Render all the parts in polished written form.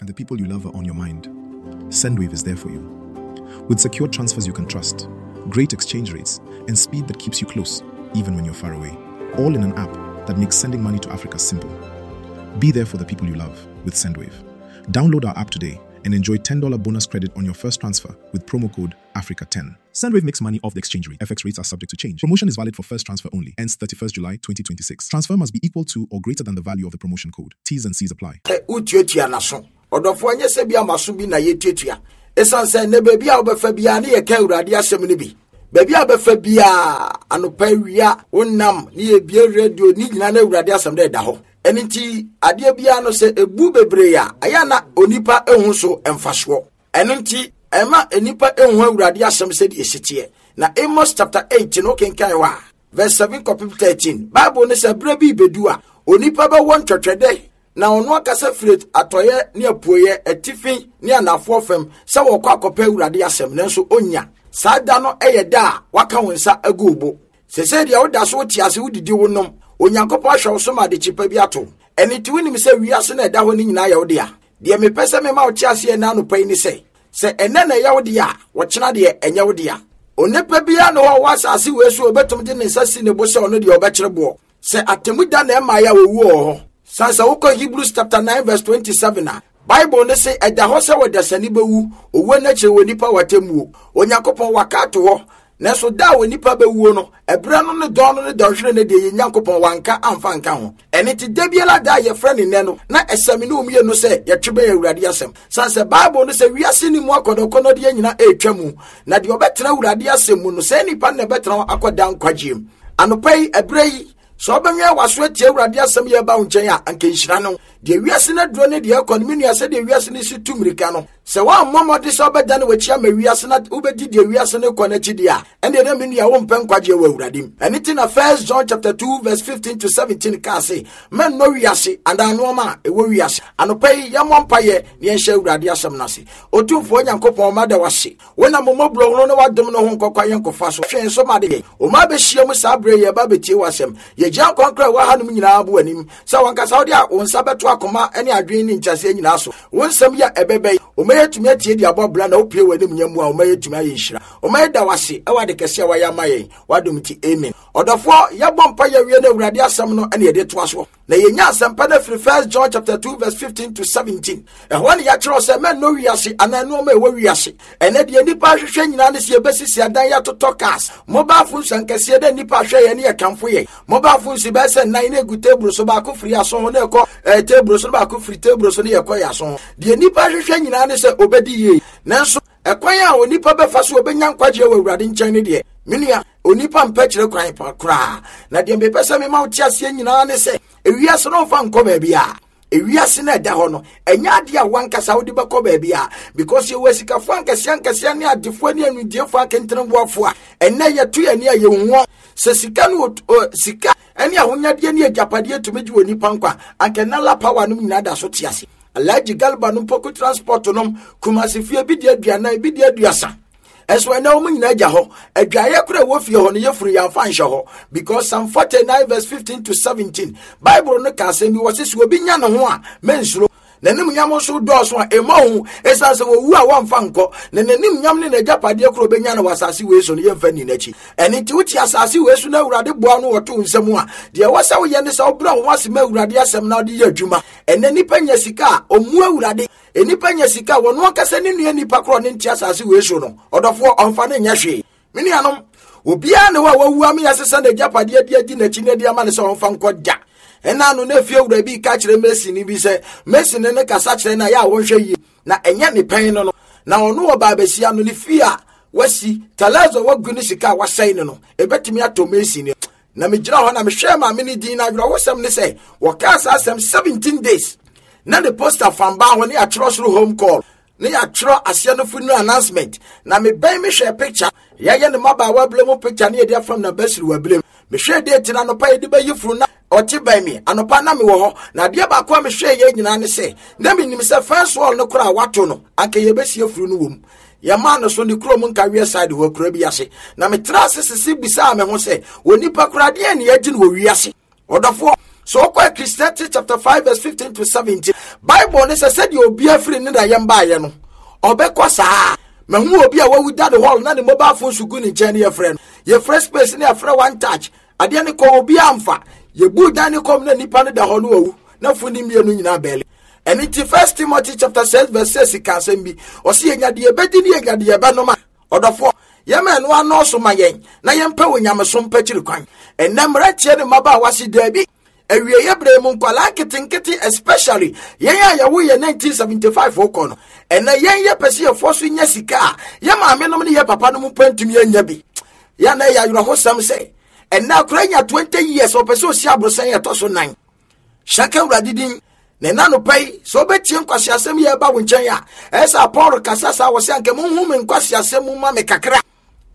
and the people you love are on your mind, Sendwave is there for you. With secure transfers you can trust, great exchange rates, and speed that keeps you close, even when you're far away. All in an app that makes sending money to Africa simple. Be there for the people you love with Sendwave. Download our app today and enjoy $10 bonus credit on your first transfer with promo code AFRICA10. Sendwave makes money off the exchange rate. FX rates are subject to change. Promotion is valid for first transfer only. Ends 31st July 2026. Transfer must be equal to or greater than the value of the promotion code. T's and C's apply. Sɛ wotuatua n'aso. Ɔdɔfoɔ, ɛnyɛ sɛ bi a m'aso bi na yɛtuatua. Ɛsiane sɛ nnɛ baabi a wobɛfa biara ne yɛka Awurade asɛm no bi. Baabi a wobɛfa biara, anɔpa awia, wonam ne yɛbie radio ne nyinaa na Awurade asɛm no ɛda hɔ. Ɛno nti adeɛ biara no sɛ ɛbu bebree a, ɛyɛ na onipa ehu so mfasoɔ. Ɛno nti ɛma nnipa ehu Awurade asɛm sɛdeɛ ɛsi teɛ. Na Amos chapter 8 no kenkan hɔ a, verse 7 kɔpem 13, Bible no sɛ berɛ bi bɛdu a, onipa bɛwɔ ntwɛtwɛdɛ na ɔno ankasa firi atɔeɛ ne apueɛ, atifi ne anafoɔ fam sɛ wɔkɔ akɔpɛ Awurade asɛm, nanso ɔnnya. Saa da no yɛ da a waka wo nsa agu wo bo. Sesei deɛ woda so wote ase, wodidi, wonom. Onyankopɔn ahwɛ wo so ma adekye pa bi ato. Ɛno nti wonim sɛ wiase no a ɛda hɔ no nyinaa yɛ wo dea. Deɛ mepɛ sɛ mema wote aseɛ ɛnnɛ anɔpa yi ne sɛ, sɛ ɛnnɛ na ɛyɛ wo dea a, ɔkyena deɛ ɛnyɛ wo dea. Onipa biara ne hɔ a ɔwɔ asase wei so a ɔbɛtumi de ne nsa si ne bo sɛ ɔno deɛ ɔbɛkyere boɔ. Sɛ atemmu da na ɛmaeɛ a owuo wɔ hɔ. San sɛ wokɔ Hebrews chapter 9 verse 27 a, Bible no se ɛda hɔ sɛ ɔdasani bɛwu, owuo no akyiri wɔ nipa wɔ atemmuo. Onyankopɔn waka ato hɔ. Nanso da a onipa bɛwuo no, ɛberɛ no ne dɔn no ne dɔnhwere no deɛ yɛn Nyankopɔn wanka amfa anka ho. Ɛno nti da biara da a yɛfrɛ no nnɛ no, na ɛsɛ me ne wo mmienu sɛ yɛtwe bɛn Awurade asɛm. Sane sɛ Bible no sɛ wiase ne mu akɔnnɔkɔnnɔdeɛ nyina ɛretwa mu, na deɛ ɔbɛtena Awurade asɛm mu no, saa nipa no na ɛbɛtena hɔ akɔ daa nkwagyeɛ mu. Anɔpa yi, ɛberɛ yi, sɛ wobɛwɛn w'aso atie Awurade asɛm yɛ ba wo nkyɛn a, anka nhyira no. Deɛ wiase no aduro ne deɛ ɛkɔ no, me nua, sɛdeɛ wiase no si tu mmirika no, sɛ woammɔ mmɔden sɛ wobɛdane w'akyi ama wiase na wobɛdi deɛ wiase no kɔ no akyi deɛ a, ɛndeɛ na me nua wompɛ nkwagyeɛ wɔ Awurade mu. Ɛno nti na 1 John chapter 2 verse 15 to 17 kaa se, mɛnnɔ wiase anaa nnoɔma a ɛwɔ wiase. Anɔpa yi, yɛmmɔ mpaeɛ na yɛnhyɛ Awurade asɛm no ase. Otumfoɔ Nyankopɔn, mada wo ase. Wonam wo mmɔborɔhunu ne w'adom no ho nkɔkwa yɛn kɔfa so. Hwɛ yɛn so ma de yɛn. Wo mma abɛhyia mu saa berɛ yi, yɛba abɛtie w'asɛm. Yɛgyina nkwankora a ɛwɔ hanom nyinaa bo w'anim, sɛ w'ankasa wode wo nsa bɛto akoma ne adwene ne nkyɛseɛ nyinaa so. Wo nsɛm yi a ɛbɛba yi, wo mma yɛatumi atie de abɔ bra na wopue w'animuonyam mu a, wo mma yɛatumi ayɛ nhyira. Wo mma yɛda wo ase wɔ ade kɛse a woayɛ ama yɛn, w'adom nti, amen. Ɔdɔfoɔ, yɛbɔ mpaeɛ awie na Awurade asɛm no na yɛde toa soɔ. Na yɛnya asɛmpa no afiri 1 John chapter 2 verse 15 to 17. Ɛhɔ ne yɛakyerɛw sɛ mɛnnɔ wiase anaa nneɛma a ɛwɔ wiase. Ɛnɛ deɛ nnipa ahwehwɛ nyinaa ne sɛ yɛbɛsisi adan yɛatotɔ cars, mobile phones ankɛseɛ dɛ nnipa ahwɛ yɛn ne yɛkamfo yɛn. Mobile phones bɛyɛ sɛ nnan na ɛgu table so baako firi aso ho na ɛkɔ eh, table so na baako firi table so na yɛkɔ yɛ aso ho. Deɛ nnipa ahwehwɛ nyinaa ne sɛ ɔbɛdi yie. Nanso ɛkwan a onipa bɛfa so ɔbɛnya nkwagyeɛ wɔ Awurade nkyɛn no deɛ, me nua, onipa mpɛ kyerɛ kwan pa koraa. Na deɛ mepɛ sɛ mema wo te aseɛ nyinaa ne sɛ, ewiase no mfa nkɔ baabi a ewiase no ɛda hɔ no ɛnyɛ adeɛ a wankasa wode bɛkɔ baabi a because yɛwɔ asikafoɔ ankɛseɛ ankɛseɛ ne adefoɔ ne anudiefoɔ akenteneboafoɔ a ɛnɛ yɛto yɛn ani a yɛhu wɔn sɛ sika no sika ne ahonyadeɛ ne agyapadeɛ tumi gye wɔ nipa nkwa anka nala power nom nyinaa da so te ase. Alhaji Garba nom Poku Transport nom Kumasi fie bi di aduanan bi di aduasa ɛso ɛnɛ wɔn nyinaa gya hɔ adwaeɛ kora ɛwɔ fie hɔ no yɛfunu yɛamfa nhyɛ hɔ because Psalm 49 verse 15 to 17 Bible no ka asɛm bi wɔ se sɛ obi nya ne ho a mensuro n'anim nyam nso dɔɔso a ɛmmɔ ho ɛsiane sɛ wɔwu a wɔmfa nkɔ na n'anim nyam ne n'agyapadeɛ koro bɛnya no wɔ asase wei so no yɛmfa nni n'akyi ɛno nti wote asase wei so na awurade boa no wɔto wo nsam a deɛ ɛwɔ sɛ woyɛ ne sɛ wobrɛ wo ho ase ma awurade asɛm na wode yɛ adwuma Ɛnɛ nipa nya sika a ɔmmu awurade. Nipa nya sika a wɔno ankasa ne nua nipa korɔ ne nte asase wei so no ɔdɔfoɔ ɔmfa ne nyɛ hwee. Me nuanom, obiara ne hɔ a wawu ama yɛasesa n'agyapadeɛ de adi n'akyi na de ama no sɛ ɔmfa nkɔ da. Ɛna ano na efie wura bi ka kyerɛ Mason bi sɛ Mason ne kasa kyerɛ no a yɛ a wɔnhwɛ yie na ɛnyɛ ne pɛn no no na ɔno wɔ baabasia no ne fie a wasi talazo a wagu ne sika a wasɛe no no ebetumi atɔ Mason Na megyina hɔ na mehwɛɛ maame no din na awerɛhosɛm ne sɛ wɔkaa saa asɛm 17 days na ne poster fam baa hɔ ne yɛatwerɛ soro home call ne yɛatwerɛ aseɛ no funeral announcement na mebɛn mehwɛɛ picture yɛayɛ ne mmabaawa berɛ mu picture ne yɛde afam na basiri wɔ berɛ mu mehwɛɛ date no anɔpa yɛde bɛyi funu na ɔte bɛn me anɔpa na mewɔ hɔ na adeɛ baako a mehwɛɛ yɛ nyinaa ne sɛ na menim sɛ fence wall no koraa wato no anka yɛbɛsie funu no wɔ mu Yɛmaa no so ne kurom nkaweɛ side hɔ akura bi ase. Na metra ase sese bisaa me ho sɛ, onipa koraa deɛn ne yɛgye no wɔ wiase? Ɔdɔfoɔ, So wokɔ Ecclesiastes chapter 5 verse 15 to 17, Bible ne sɛ sɛdeɛ obi afiri ne da yɛm baeɛ no, ɔbɛkɔ saa. Mahu obi a wawu da ne hall na ne mobile phone so gu ne nkyɛn ne yɛfrɛ no. Yɛfrɛ space ne yɛfrɛ one touch. Adeɛ no kɔ obi amfa. Yɛbu dan ne kɔm na nipa no da hɔ no wawu. Na fo ne mmienu nyinaa bɛɛle. Ɛno nti First Timothy chapter 6 verse 6 ka asɛm bi. Ɔse yɛnya deɛ yɛbɛdi ne yɛnya deɛ yɛbɛnom a. Ɔdɔfoɔ, yɛma ɛno anɔɔso ma yɛn na yɛmpɛ wɔ nyamesom pakyiri kwan. Ɛnnɛ mmeranteɛ ne mmabaawa se daabi. Awieeɛ berɛ mu nkwadaa nketenkete especially yɛn a yɛwo yɛ 1975 kɔ no, ɛnnɛ yɛn yɛpɛ sɛ yɛfoɔ so nya sika a yɛ maame nom ne yɛ papa nom mpo ntumi anya bi. Yɛ na ɛyɛ awerɛhosɛm sɛ ɛnnɛ akora nya 20 years ɔpɛ sɛ ɔsi aborosan ɛtɔ so nan. Hyɛ ka Awurade din. Na ɛna anɔpa yi, sɛ wobɛtie nkwaseasɛm yi ɛba wo nkyɛn a, ɛyɛ sɛ Paul kasa saa wɔ sɛ anka monhu me nkwaseasɛm mu ma me kakra.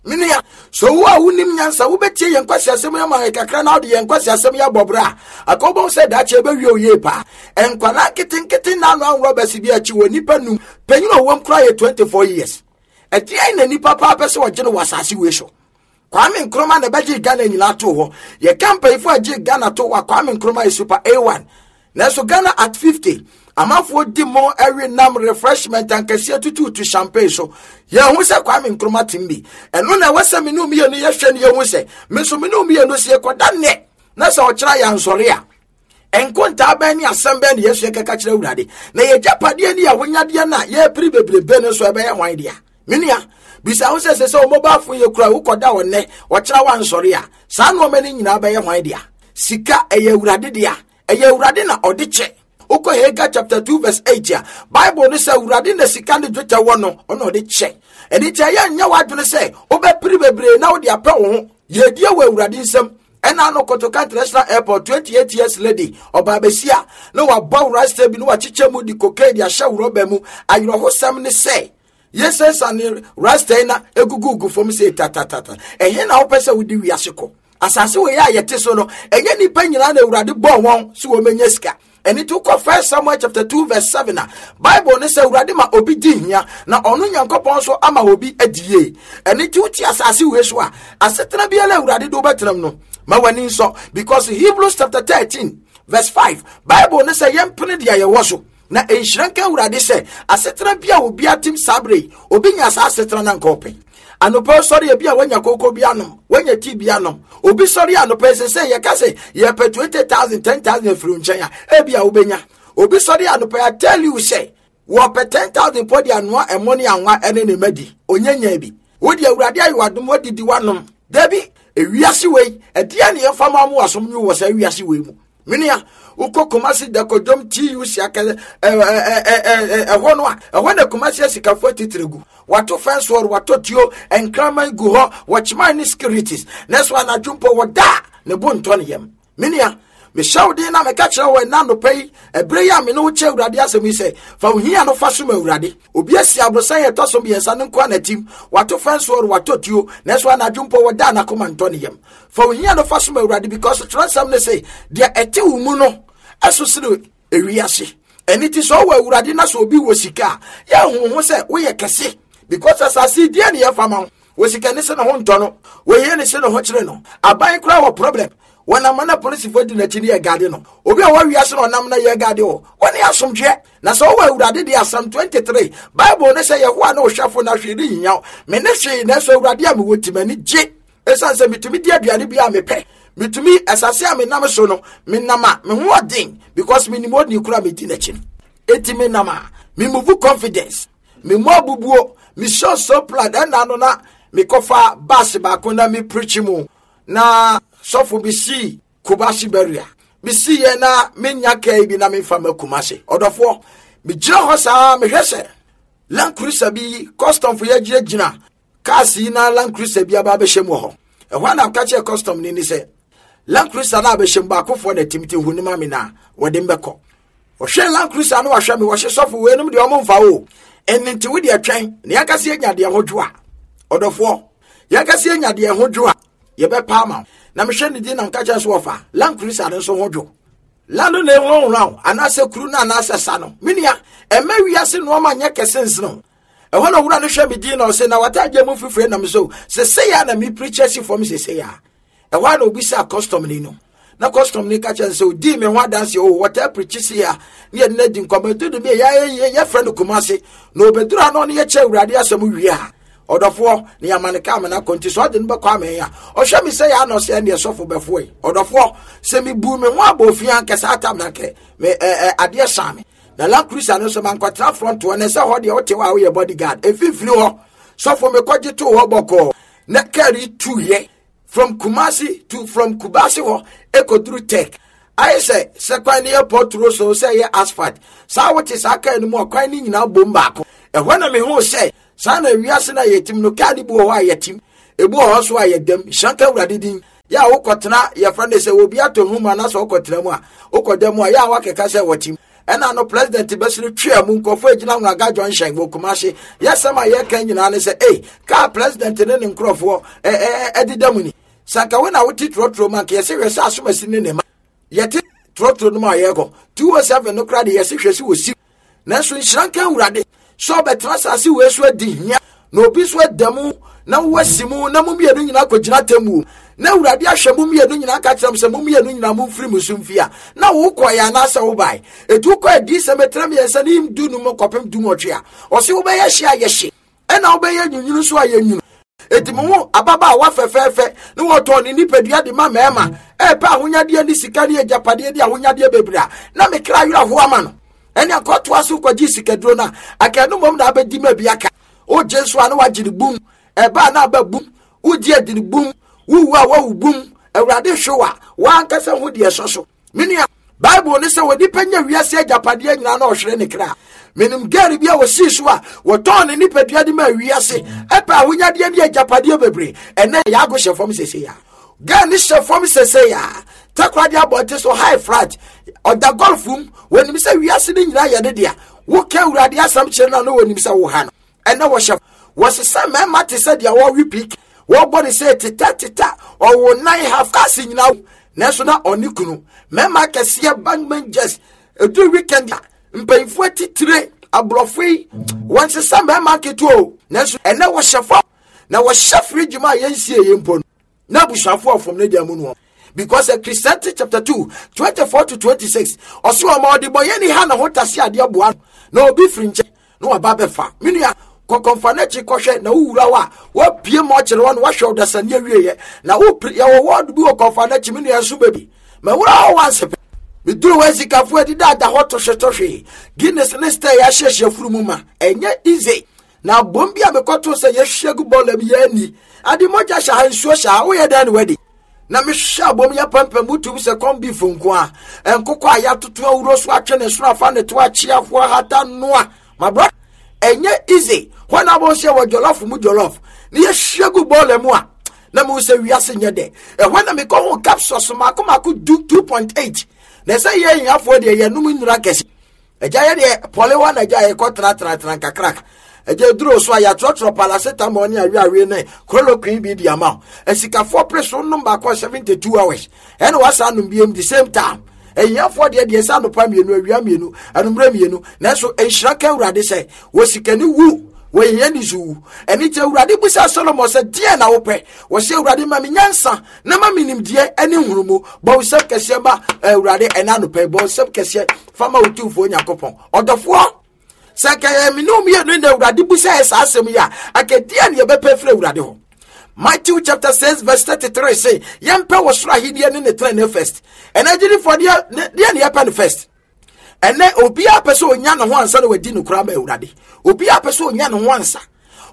Me nua, sɛ wo a wonim nyansa wobɛtie yɛn nkwaseasɛm yi ama yɛn kakra na wode yɛn nkwaseasɛm yi abɔ bra a, anka wobɛhu sɛ daakye ɛbɛwie wo yie paa. Nkwadaa nketenkete nna ano anworɔ bɛse bi akyi wɔ nnipa num, panyin a ɔwom koraa yɛ 24 years. Ɛdeɛn na nnipa paa pɛ sɛ ɔgye no wɔ asase wei so? Kwame Nkrumah na ɛbɛgyee Ghana nyinaa too hɔ. Yɛka mpanyinfoɔ a gyee Ghana too hɔ a, Kwame Nkrumah yɛ super A1. Nanso Ghana at 50, amanfoɔ di mo ɛwe nam refreshment ankɛseɛ tutuutu champagne so. Yɛhu sɛ Kwame Nkrumah tem bi. Ɛno na ɛwɔ sɛ me ne mmienu yɛhwɛ no yɛhu sɛ me nso me ne mmienu sɛ yɛkɔda nnɛ na sɛ ɔkyerɛ yɛ ansɔre a Nkontaa bɛn ne asɛm bɛn na yɛsua kɛka kyerɛ Awurade? Na yɛgyapadeɛ ne yɛahonyadeɛ no a yɛrepere bebrebe no nso ɛbɛyɛ hwan dea? Me nua, bisa ho sɛ sɛ sɛ wo mobile phone yɛ kura wokɔda wɔ nnɛ, ɔkyena wansɔre a, saa nneɛma no nyinaa bɛyɛ hwan dea? Sika ɛyɛ Awurade dea. Ɛyɛ Awurade na ɔde kyɛ. Wokɔ Haggai chapter 2 verse 8 a, Bible no sɛ Awurade na sika ne dwetɛ wɔ no, ɔna ɔde kyɛ. Ɛno nti ɛyɛ nyɛ w'adwene sɛ wobɛpere bebree na wode apɛ wo ho. Yɛdie wɔ Awurade nsam. Ɛna ano Kotoka International Airport 28 years lady ɔbaa besia na wabɔ rasta bi na wakyekyɛ mu de cocaine de ahyɛ rɔba mu. Awerɛhosɛm ne sɛ yɛsɛsa ne rasta yi na egugugu fam sɛ tatatata. Ɛhe na wopɛ sɛ wode wiase kɔ? Asase wei a yɛte so no, ɛnyɛ nnipa nyinaa na Awurade bɔɔ wɔn sɛ wɔmɛnya sika. Ɛno nti wokɔ First Samuel chapter 2 verse 7 a, Bible ne sɛ Awurade ma obi di hia na ɔno Nyankopɔn nso ama obi adi yie. Ɛno nti wote asase wei so a, asetena biara Awurade de wobɛtenam no, ma w'ani nsɔ. Because Hebrews chapter 13 verse 5, Bible ne sɛ yɛmpene deɛ yɛwɔ so. Na nhyira nka Awurade sɛ asetena bi a obi atem saa berɛ yi, obi nya saa asetena na nka ɔpɛ. Anɔpa sɔre ebi a wanya koko bi anom, wanya tii bi anom. Obi sɔre anɔpa sɛ sɛ yɛka sɛ yɛpɛ 20,000, 10,000 afiri nkyɛn a, ebi a wobɛnya. Obi sɔre anɔpa I tell you sɛ wɔpɛ 10,000 pɔ de anoa ɛmo ne anwa ɛne ne madi. Onyanya bi. Wo deɛ Awurade ayɛ w'adom wadidi wanom. Dabi, ewiase wei, ɛdeɛ ne yɛmfa ma mo asom nwo wɔ saa wiase wei mu. Menua, wokɔ Kumasi Dakodwom TUC akɛse ɛhɔ no a, ɛhɔ na Kumasi asikafoɔ atitire gu. Wɔato fɛnse wɔ wɔatɔ tuo, nkraman gu hɔ, wɔkyeman ne securities. Nanso anadwo mpo wɔda a, ne bo ntɔ ne yam. Menua, mehyɛ wo den na meka kyerɛ wo ɛna anɔpa yi, ɛberɛ yi a me ne wo kyɛ Awurade asɛm yi sɛ, fa wo hia no fa som Awurade. Obi asi aborosan a ɛtɔ so mmiɛnsa no nko ara n'atim, wato fɛnse wɔ watɔ tuo, nanso anadwo mpo wɔda a n'akoma ntɔ ne yam. Fa ohia no fa som Awurade because twerɛnsɛm no se deɛ ɛte wo mu no ɛso sene ewiase. Ɛno ti sɛ ɔwɔ Awurade na sɛ obi wɔ sika a yɛnhu ho sɛ woyɛ kɛse because asase deɛ ne yɛfa ma wo. Wɔ sika ne se ne ho ntɔ no, wɔhia ne se ne ho kyerɛ no. Aban koraa wɔ problem. Wɔn ama na polisifoɔ di n'akyi ne yɛ gade no. Obi a wɔwia se na ɔnam na yɛ gade wɔ. Wɔne asomdwoeɛ. Na sɛ ɔwɔ Awurade deɛ Asɛm 23 Bible ne sɛ Yehowa ne ɔhwɛfo na hwee renhia wo. Me ne hwee nanso Awurade a mewɔ ti m'ani gye. Esiane sɛ metumi di aduane bi a mepɛ, metumi asase a menam so no, menam a me ho ɔden because menim onii koro a medi n'akyi no. Enti menam a me move confidence, me mu abubuo, me show so proud. Ɛna no na mekɔfa bus baako na me preach mu na sɔfo bi sii Kumasi barrier. Mesi yɛ na menya kaa bi na memfa ma Kumasi. Ɔdɔfoɔ, megyina hɔ saa mehwɛ sɛ Land Cruiser bi customfo yɛgyinagyina Cars yi na Land Cruiser bi aba abɛhyɛ mu wɔ hɔ. Ɛhɔ a na ɔka kyerɛ custom ni ne sɛ, Land Cruiser no abɛhyɛ mu baakofoɔ na tim ti hu ne ma me na wɔde mbɛkɔ. Ɔhwɛ Land Cruiser no wahwɛ me wɔhye sɔfo weinom deɛ ɔmo mfa o. Ɛno nti wo deɛ twɛn na yɛnkasa yɛnya deɛ ho dwo a. Ɔdɔfoɔ, yɛnkasa yɛnya deɛ ho dwo a yɛbɛpa ama wo. Na mehwɛ ne din na meka kyerɛ so wɔfa Land Cruiser no nso ho dwo. La no na ɛhurahura wo anaasɛ kuru no anaasɛ sa no. Me nua, ɛmma wiase nnoɔma nyɛ kɛse nsene wo. Ɛhɔ na owura no hwɛ me din na ɔse na w'ataadeɛ mu fifire nam so sesei a na me preacher si fam sesei a. Ɛhɔ a na obisaa custom ni no. Na custom ni ka kyerɛ sɛ odii me ho adanse o wɔtaa pirikyi si a ne yɛde no adi nkɔmmɔ ɛdu de bi a yɛfrɛ no Kumase na obɛduru ha na ɔne yɛkyɛ Awurade asɛm wie a ɔdɔfoɔ ne yɛama no kaa mena kɔ nti sɛ ɔde no bɛkɔ amɛn a ɔhwɛ me sɛ yɛ anɔ sɛ ɛneɛ sɔfo bɛfoɔ yi. Ɔdɔfoɔ, sɛ mebu me ho abɔ ofie ankɛ saa tam na nkɛ me adeɛ saa me na Land Cruiser no nso mankɔtena front hɔ na ɛsɛ hɔ deɛ wote hɔ a woyɛ bodyguard mfimfini hɔ. Sɔfo mekɔgye too hɔ bɔkɔɔ na kaa yi tuyɛ from Kumasi to from Kubasi hɔ ɛkɔduru Tech. Ayɛ sɛ sɛ kwan no yɛ pɔturo so sɛ ɛyɛ asphalt saa wote saa kaa no mu a kwan no nyinaa bom baako. Ɛhɔ na mehuu sɛ saa na wiase no a yɛtim no kaa no bi wɔ hɔ a yɛtim, ebi wɔ hɔ nso a yɛdam. Nhyira nka Awurade din. Yɛ a wokɔtena yɛfrɛ no sɛ obi atɔ hu mu anaasɛ wokɔtena mu a wokɔda mu a yɛ a wakeka sɛ wɔtim. Ɛna no president bɛsere twea mu nkurɔfoɔ agyina Nwaga junction wɔ Kumasi. Yɛsɛm a yɛka nyinaa ne sɛ ei kaa president ne ne nkurɔfoɔ ɛdeda mu ni. Sɛ anka wo na wote trɔtrɔ mu anka yɛsɛ hwɛ sɛ asomasi ne ne ma yɛte trɔtrɔ no mu a yɛrekɔ 207 no koraa de yɛse hwɛ sɛ wɔsi. Nanso nhyira nka Awurade sɛ ɔbɛtena asase wei so adi hia na obi nso ada mu na woasi mu na mo mmienu nyinaa kɔgyina atemmuo na Awurade ahwɛ mo mmienu nyinaa ka kyerɛ mo sɛ mo mmienu nyinaa momfiri mo so mfi a na wokɔeɛ anaasɛ wobae. Ɛti wokɔ adiyisɛm ɛtena mmiɛnsa ne 15 kɔpem 18 a ɔse wobɛyɛ hye a yɛhye ɛna wobɛyɛ nwunwunu nso a yɛnwunu. Eti mo ho ababaawa fɛfɛɛfɛ ne wɔtɔn ne nipadua de ma mmarima ɛrepɛ ahonyadeɛ ne sika ne agyapadeɛ ne ahonyadeɛ bebree a na me kra werɛ ho ama no. Ɛne akɔtoa so kɔgye sikaduro no a aka no mmom na abɛdi ma bi aka. Wogye nso a na wagye ne bum, ɛba a na aba bum, wogye adi ne bum, wowu a wawu bum. Awurade hwe wa, w'ankasa ho deɛ ɛsɔ so. Me nua, Bible ne sɛ onipa nya wiase agyapadeɛ nyinaa na ɔhwere ne kra. Menim girl bi a wɔsii so a wɔtɔn ne nipadua de ma wiase ɛpɛ ahonyadeɛ ne agyapadeɛ bebree. Ɛnɛ yɛago hyɛ fam sese ya. Girl ne hyɛ fam sese ya. Takoradi abɔnten so high flat. Ɔda golf mu. Wɔnim sɛ wiase no nyinaa yɛ ne dea. Woka Awurade asɛm kyerɛ no a na wɔnim sɛ woha no. Ɛnɛ wɔhyɛ wɔsesa mmarima te sɛ deɛ wɔwe pik wɔbɔ ne sɛ teta teta ɔwɔ nan half cars nyinaa nanso na ɔne kunu mmarima akɛseɛ bank managers ɛduru weekend a mpanyinfoɔ atitire aborɔfo yi wɔnsesa mmarima nketewa o nanso ɛnɛ wɔhyɛ fam na wɔhyɛ fridge mu a yɛnsie yɛ mpo no na abusuafo ɔfam ne deɛ mu no because uh, Christianity chapter 2 24 to 26 ɔso ɔma ɔdebɔyɛni ha na ho tase adeɛ boa no na obi firi nkyɛn na waba bɛfa me nua kɔkɔmfa n'akyi kɔhwɛ na wowura hɔ a wapue ma ɔkyerɛ hɔ na wahwɛ ɔdasani awieɛ na wopere yɛwɔ wɔɔdo bi wɔ kɔmfa n'akyi me nua nso baabi ma wura hɔ wanse pɛ meduru hɔ asikafoɔ adidada hɔ tohwetohwe Guinness ne star yɛahyehyɛ furu mu ma ɛnyɛ easy Na abom bi a mekɔtoo sɛ yɛhwie gu bɔɔla bi yɛani ade mogya hyɛ ha nsuo hyɛ ha woyɛ dɛn ne wadi na mehwɛ abom yɛ pampam wotum sɛ kɔn beef nko a nkokɔ a yɛatoto awuro so atwe ne soro afa ne to akye ahoa hata noa my brother ɛnyɛ easy hɔ na abom sɛ wɔ jollof mu jollof ne yɛhwie gu bɔɔla mu a na mehu sɛ wiase nyɛ dɛ ɛhɔ na mekɔ ho capsules mako mako du 2.8 na ɛsɛ yɛ ahiafoɔ deɛ yɛnom nnura kɛse Agya yɛ deɛ pɔlewa na agya yɛkɔ tenatenatena nkakraka. Agya duro so a yɛatwerɛtwerɛ paracetamol ne aweawe ne chloroquine bi de ama wo. Asikafoɔ pere so nom baako a 72 hours ɛna wasan nom biem the same time. Ahiafoɔ deɛ deɛ sɛ anɔpa mmienu awia mmienu anummerɛ mmienu nanso nhyira ka Awurade sɛ wɔ sikani wu wɔ hiani so wu. Ɛne nti Awurade bisa Solomon sɛ deɛ na wopɛ? Wɔsɛ Awurade ma me nyansa na ma me nimdeɛ ne nhunumu. Bɔ wo nsɛm kɛseɛ ma Awurade ɛna anɔpa yi bɔ nsɛm kɛseɛ fa ma Otumfoɔ Nyankopɔn. Ɔdɔfoɔ, sɛ anka yɛn mene mmienu na Awurade bu sɛ saa asɛm yi a, anka deɛ ne yɛbɛpɛ firi Awurade hɔ. Matthew chapter 6 verse 33 say, yɛmpɛ wɔ soro ahenni ne ne tenenee first. Ɛnɛ agyidifoɔ deɛ deɛ ne yɛpɛ no first. Ɛnɛ obiara pɛ sɛ onya ne ho ansa na wadi no koraa ma Awurade. Obiara pɛ sɛ onya ne ho ansa.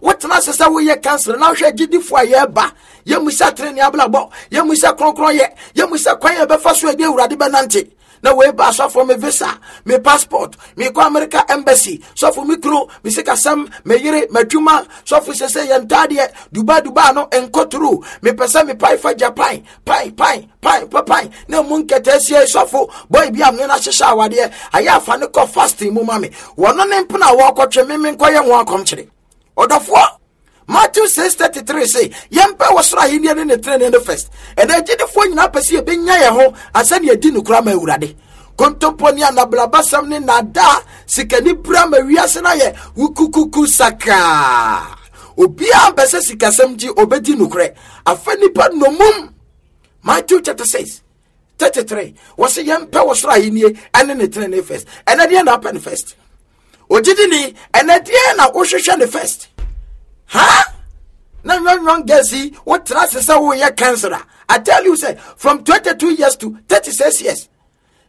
Wotena ase sɛ woyɛ kansere na wohwɛ agyidifoɔ a yɛreba, yɛmmisa tenenee abrabɔ, yɛmmisa kronkronyɛ, yɛmmisa kwan a yɛbɛfa so ɛde Awurade bɛnante. Na wei ba asɔfoɔ me visa, me passport, mekɔ America embassy, sɔfo me kunu, me sikasɛm, me yere, m'adwuma, sɔfo sɛ sɛ yɛn ntaadeɛ, Dubai Dubai no nkɔturu, mepɛ sɛ mepae fa Japan, pan pan pan pa pan na emu nkɛtɛasia sɔfo boy bi a me no ahyehyɛ awadeɛ ayɛ afa ne kɔ fasting mu ma me wɔno ne mpena a wɔkɔtwe me me nkɔyɛ ho akɔmkyere ɔdɔfoɔ. Matthew 6:33 se yɛmpɛ wɔ soro ahenni ne ne trenee no first. Ɛnna agyidifoɔ nyinaa pɛ sɛ yɛbɛnya yɛn ho ansa ne yɛdi nokora ma Awurade. Kontompo ne anablabasɛm ne naadaa sikani bra ma wiase no ayɛ wukukuku sakaa. Obiara mpɛ sɛ sikasɛm gye obɛdi nokorɛ. Afa nipa nnomum. Matthew chapter 6. 33 wɔsi yɛn pɛ wɔ soro ahennie ɛne ne tenene first. Ɛnɛ deɛ na apɛ ne first. Ogyidini ɛnɛ deɛ na wohwehwɛ ne first. Ha? Na young young girls yi wotra ase sɛ woyɛ cancer a I tell you say from 22 years to 36 years.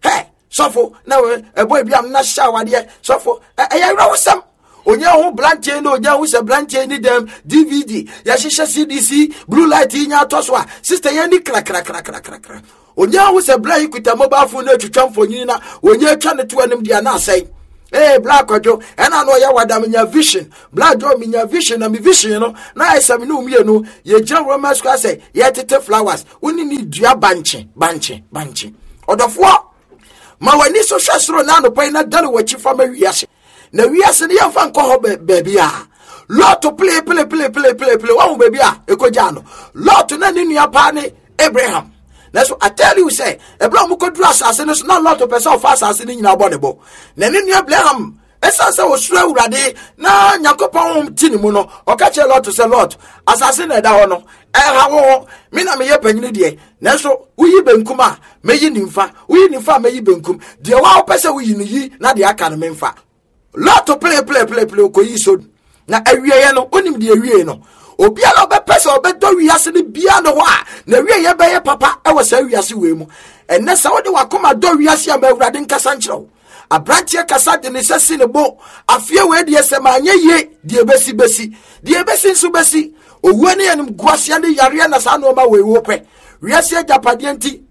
Hey, sɔfo na ɛbɔ ebi am na hyɛ awadeɛ sɔfo ɛyɛ awerɛhosɛm onye ho brantie na onye ho sɛ brantie ni dɛm dvd yɛhyehyɛ cdc blue light yi nya atɔ so a sister yɛn ni krakrakrakrakra onye ho sɛ bla yi kuta mobile phone na atwitwa mfonyin na onye atwa ne to anim deɛ na asɛe ee bla akwadwo ɛna na ɔyɛ wada menya vision bla dwo menya vision na me vision no na ayɛ sɛ me ne mmienu yɛgyina roma square sɛ yɛtete flowers wo ne ne dua bankye bankye bankye ɔdɔfoɔ ma w'ani so hwɛ soro na anɔpa yi na dane w'akyi fa ma wiase na wiase no yɛmfa nkɔ hɔ baabi a lɔto pele pele pele pele pele pele wahu baabi a ɛkɔgyaa no lɔto na ne nua paa ne abraham nanso I tell you sɛ ɛberɛ a wɔkɔduru asase no so na lɔto pɛ sɛ ɔfa asase no nyinaa bɔ ne bo na ne nua abraham ɛsiane sɛ ɔsuro awurade na nyankopɔn honhom te ne mu no ɔka kyerɛ lɔt sɛ lɔt asase na ɛda hɔ no ɛha wo ho me na meyɛ panyini deɛ nanso woyi benkum a mɛyi nimfa woyi nimfa a mɛyi benkum deɛ wa wopɛ sɛ woyi no yi na deɛ aka no memfa lɔt pelepelepele ɔkɔyi so na awieɛ no wonim deɛ awie no obiara ɔbɛpɛ sɛ ɔbɛdɔ wiase no biara ne hɔ a na awieɛ bɛyɛ papa ɛwɔ saa wiase wei mu ɛnɛ sɛ wode wakoma dɔ wiase a ma awurade nkasa nkyerɛ wo Aberanteɛ kasa de ne nsa si ne bo. Afeɛ wei deɛ sɛ manyɛ yie deɛ ɛbɛsi bɛsi. Deɛ ɛbɛsi nso bɛsi. Owuo ne animguaseɛ ne yareɛ na saa nneɛma wei wopɛ. Wiase agyapadeɛ nti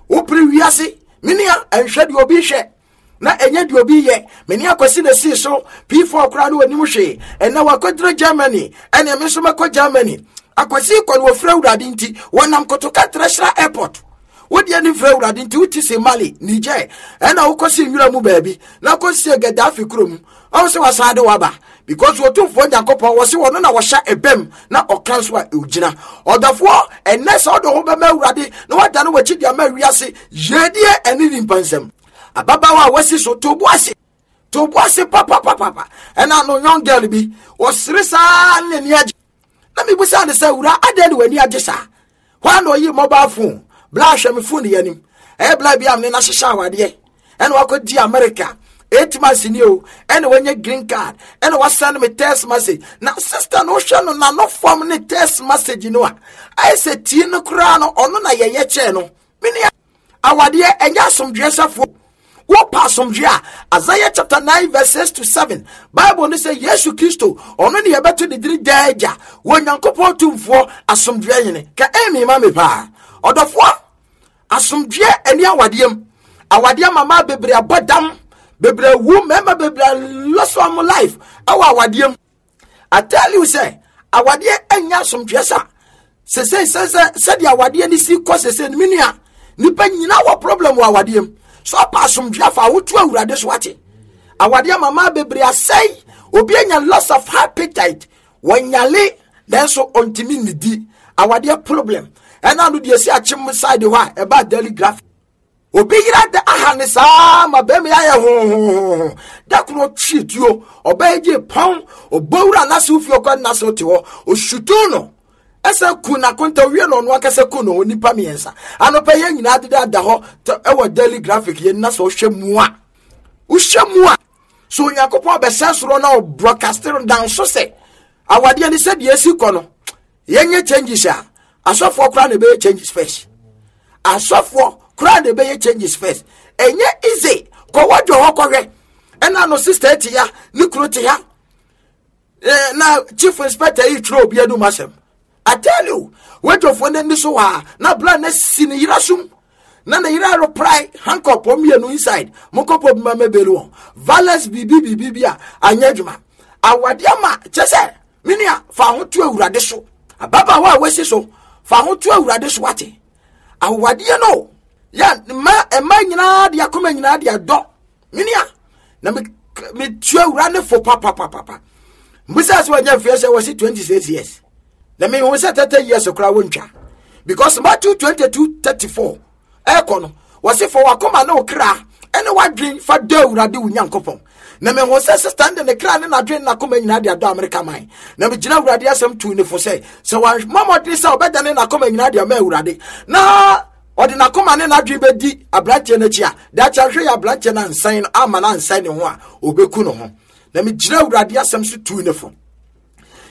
wopere wiase. Me nua ɛnhwɛ deɛ obi hwɛ na ɛnyɛ deɛ obi yɛ. Me ne akwasi na esii so. P4 koraa no onim hwee. Ɛnɛ wakɔduru Germany. Ɛnea me nso mɛkɔ Germany. Akwasi kɔ no wɔfiri Awurade nti wɔnam Kotoka International Airport. Wodi ani mfrɛ Awurade nti wote se Mali, Niger, ɛna wokɔsi nwura mu baabi na kɔsie Gaddafi kurom. Ɔho sɛ wasan de waba because Otumfoɔ Nyankopɔn wɔ se wɔno na wɔhyɛ ɛbɛm na ɔka nso a ɛgyina. Ɔdɔfoɔ, ɛnnɛ sɛ wode ho bɛma Awurade na wadane w'akyi de ama wiase yiedie ɛne nimpa nsɛm. Ababaawa a wasi so to bo ase to bo ase papapapapa ɛna no young girl bi ɔsere saa ne n'ani agye na mebusaa no sɛ wura adɛn ne w'ani agye saa hɔ a na ɔyi mobile phone bla hwɛ me phone yɛ anim ɛyɛ bla bi a mene no ahyehyɛ awadeɛ ɛna wakɔdi America eight months ni o ɛna wanya green card ɛna wasan me text message na sister no wohwɛ no n'ano fam ne text message no a ayɛ sɛ tie no koraa no ɔno na yɛyɛ kyɛɛ no mene Awadeɛ ɛnyɛ asomdwoeɛ safoa. Wopɛ asomdwoeɛ a, Isaiah chapter 9 verse 6 to 7, Bible no sɛ Yesu Kristo, ɔno ne yɛbɛto ne dini daa agya, wɔ Nyankopɔn tumfoɔ asomdwoeɛ hene. Ka ɛmi ma me paa. Ɔdɔfoɔ, asomdwoeɛ ɛni awadeɛ mu. Awadeɛ mama bebree abɔ dam, bebree awu, mmarima bebree lost wɔn life ɛwɔ awadeɛ mu. I tell you sɛ awadeɛ ɛnyɛ asomdwoeɛ sa sese sɛ sɛ sɛdeɛ awadeɛ no si kɔ sese no me nua nipa nyinaa wɔ problem wɔ awadeɛ mu so ɔpa asomdwoeɛ afa ahoto awurade so ate awadeɛ mama bebree asɛe obi anya loss of appetite wɔnyale nanso ɔntumi nnidi awadeɛ problem ɛna no deɛ si akyem side hɔ a ɛba daily graphic Obi yere ada aha ne saa ma bɛrima yi ayɛ hohohoho. Da koro ɔtwe tuo, ɔbaa yi gye pɔn, ɔbɔ wura n'asew fie ɔkɔ n'asew te hɔ, ɔsutu no. Ɛsɛ ku n'akonta owie na ɔno ankasa ku ne ho nnipa mmiɛnsa. Anɔpa yɛn nyinaa deda da hɔ ɛwɔ daily graphic yɛn na sɛ ɔhwɛ mu a wohwɛ mu a so Onyankopɔn bɛsɛ soro na ɔbroadcast down so sɛ awadeɛ ne sɛ deɛ esi kɔ no yɛnyɛ changes a asɔfoɔ koraa na ɛbɛyɛ changes first asɔfoɔ koraa na ɛbɛyɛ changes first ɛnyɛ easy kɔwɔ dwo hɔ kɔhwɛ ɛna no sister te ya ne kunu te ha eh, na chief inspector yi twerɛ obi anum asɛm I tell you wadwofoɔ no ani so hɔ a na bla na si ne yera sum na ne yera reply handcuff wɔn mmienu inside mokɔpɔ bi ma mɛbɛli wɔn violence biribi biribi bi a anyɛ adwuma awadeɛ ma kyɛ sɛ Me nua, fa ho to Awurade so. Ababaawa a wasi so, fa ho to Awurade so wate. Awadeɛ no, yɛ mma mma nyinaa de akoma nyinaa de adɔ. Me nua, na me metua awura ne fo papapapapa. Mbisa sɛ wanya mfeɛ sɛ wɔsi 26 years. Na mehu sɛ 30 years koraa wɔntwa. Because Matthew 22 34 ɛrekɔ no wɔse fa wakoma ne wo kra ɛne wadwen fa dɔ awurade wo nyankopɔn na mehu sɛ sista no de ne kra ne n'adwen ne n'akoma nyinaa de adɔ amerika man na megyina awurade asɛm tuu ne fo sɛ sɛ wammɔ mmɔden sɛ ɔbɛdane n'akoma nyinaa de ama awurade na Ɔde n'akoma ne n'adwene bɛdi aberanteɛ no akyi a, daakye ahwɛ yɛ aberanteɛ no ansan no ama no ansan ne ho a, ɔbɛku ne ho. Na megyina Awurade asɛm so tuu ne fo.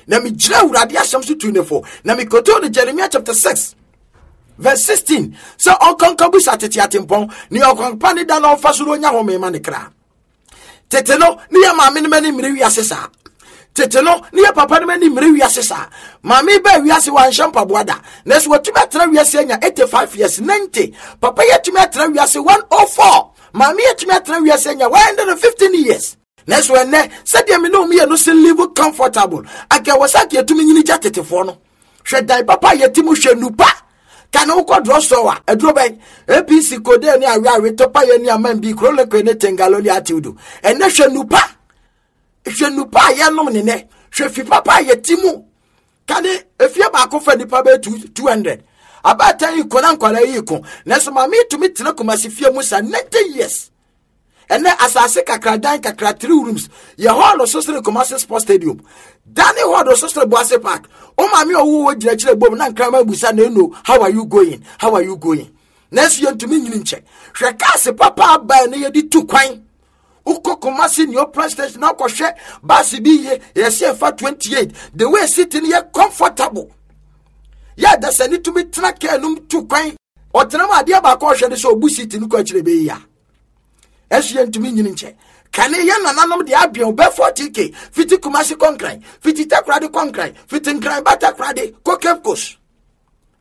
Na megyina Awurade asɛm so tuu ne fo. Na mekɔtoo no Jeremia chapter 6 verse 16 sɛ ɔnkɔnkɔ bisa tete atempɔn ne ɔkwanpa ne da na ɔmfa so na ɔnya home ma ne kra. Tete no ne yɛ maame no mani mmere wiase saa. Tete no ne yɛ papa no mani mmere wiase saa. Maame baa wiase wanhyɛ mpaboa da. Nanso watumi atena wiase anya 85 years, 90. Papa yi atumi atena wiase 104. Maame yi atumi atena wiase anya 115 years. Nanso ɛnnɛ, sɛdeɛ me ne wɔn mmienu se live comfortable, anka ɛwɔ sɛ anka yɛtumi nyini gya tetefoɔ no. Hwɛ dan papa a yɛte mu, hwɛ nupa. Ka ne wokɔ drugstore a, aduro bɛn? APC, Codeine ne aweawe, Topayɛ ne Aman bi, Chloroquine ne Tengalo ne Atiwdo. Ɛnnɛ hwɛ nupa. Hwɛ nupa a yɛnom ne nɛ. Hwɛ fi papa a yɛte mu. Ka ne efie baako fa nipa bɛyɛ 200. Abaatan yi ko na nkwadaa yi ko. Nanso maame yi tumi tena Kumasi fie mu sa 90 years. Ɛnɛ asase kakra dan kakra three rooms yɛ hall so sere Kumasi Sports Stadium. Dane hall so sere Boase Park. O maame ɔwo wɔ gyina kyerɛ bom na nkrama busa na eno how are you going? How are you going? Nanso yɛntumi nyini nkyɛ. Hwɛ kaase papa aba ne yɛde tu kwan. Wokɔ Kumasi New Press Station na wokɔhwɛ baase bi yie yɛsɛ ɛfa 28 the way city no yɛ comfortable. Yɛ adasani tumi tena kaa no mu tu kwan. Ɔtena mu adeɛ baako ɔhwɛ ne sɛ ɔbu seat no kɔ akyire bɛyi a ɛso yɛntumi nyini nkyɛ kane yɛ nananom deɛ adwen bɛ 40k fiti kumase kɔ nkran fiti takorade kɔ nkran fiti nkran ba takorade kɔ cape coast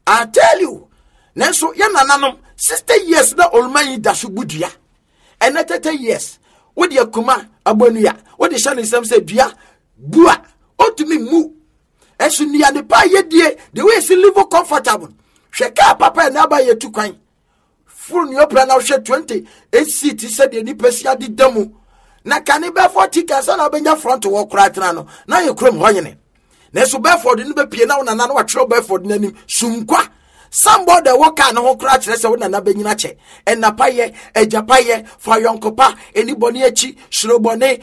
I tell you nanso yɛ nananom 60 years na oluma yi da so bu dua ɛnɛ 30 years wode akuma abɔnua wode hyɛ ne nsɛm sɛ dua bu a ɔntumi mmu ɛso nnuane pa a yɛdie the way ɛsi live comfortable hwɛ kaa papa ɛna aba yɛtu kwan foro nea ɔpra na wohwɛ 28 seat sɛdeɛ nipa si ade da mu na kane bɛfɔ ti kansa na wobɛnya front wɔ koraa tena no na yɛ kurom hɔ nyene nanso bɛfɔd no bɛpie na wo nana no watwerɛ bɛfɔd no anim sumkwa sambɔ da ɛwɔ kaa no ho koraa kyerɛ sɛ wo nana bɛnyina kyɛ ɛnapa yɛ agyapa yɛ fa yɔnkopa ɛni bɔne akyi suro bɔne.